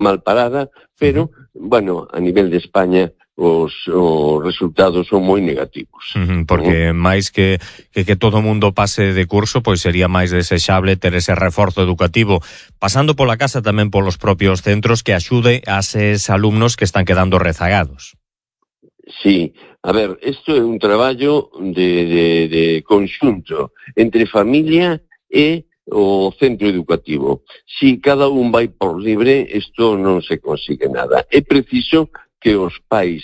mal parada, pero, bueno, a nivel de España os resultados son moi negativos. Porque máis que todo o mundo pase de curso, pois sería máis desexable ter ese reforzo educativo, pasando pola casa tamén polos propios centros, que axude a eses alumnos que están quedando rezagados. Sí, a ver, isto é un traballo de conxunto entre familia e o centro educativo. Si cada un vai por libre, isto non se consigue nada. É preciso que os pais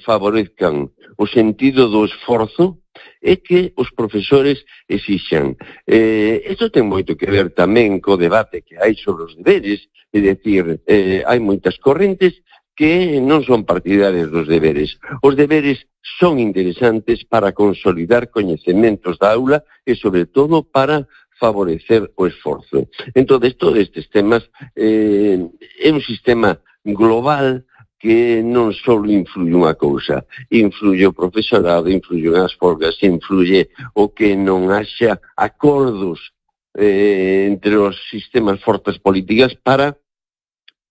favorezcan o sentido do esforzo e que os profesores exixan. Isto ten moito que ver tamén co debate que hai sobre os deberes, é dicir, hai moitas correntes que non son partidarias dos deberes. Os deberes son interesantes para consolidar coñecementos da aula e, sobre todo, para favorecer o esforzo. Entón, todos estes temas é un sistema global que non só influye unha cousa, influye o profesorado, influye as folgas, influye o que non haxa acordos entre os sistemas fortes políticas para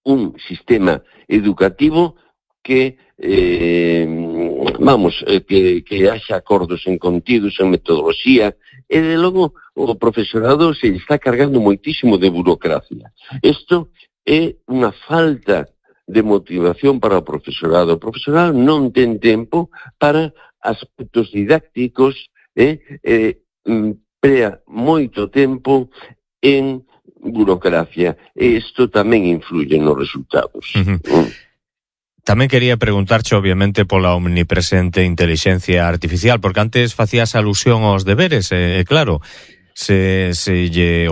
un sistema educativo que que haxa acordos en contidos, en metodoloxía, e de logo o profesorado se está cargando moitísimo de burocracia. Isto é unha falta de motivación para o profesorado. O profesorado non ten tempo para aspectos didácticos, emprea moito tempo en burocracia, e isto tamén influye nos resultados. Tamén quería preguntarche, obviamente, pola omnipresente intelixencia artificial, porque antes facías alusión aos deberes, claro, se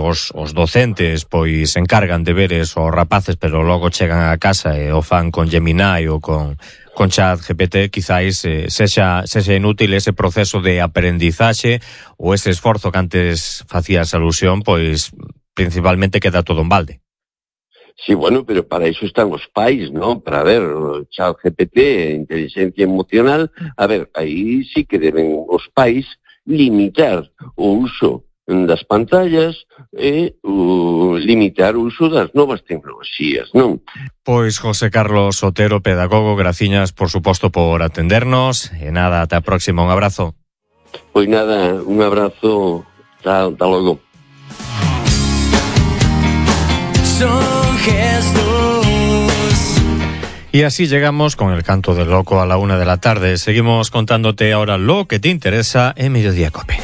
os docentes pois encargan deberes aos rapaces, pero logo chegan a casa e o fan con Gemini ou con ChatGPT, quizáis sexa inútil ese proceso de aprendizaxe ou ese esforzo que antes facías alusión, pois principalmente queda todo en balde. Sí, bueno, pero para iso están os pais, ¿no? Para ver, o ChatGPT, inteligencia emocional, a ver, aí sí que deben os pais limitar o uso das pantallas e limitar o uso das novas tecnoloxías, non? Pois José Carlos Otero, pedagogo, graciñas, por suposto, por atendernos, e nada, ata a próxima, un abrazo. Pois nada, un abrazo, ata logo. Son gestos. Y así llegamos con el canto del loco a la 1 de la tarde. Seguimos contándote ahora lo que te interesa en Mediodía Cope.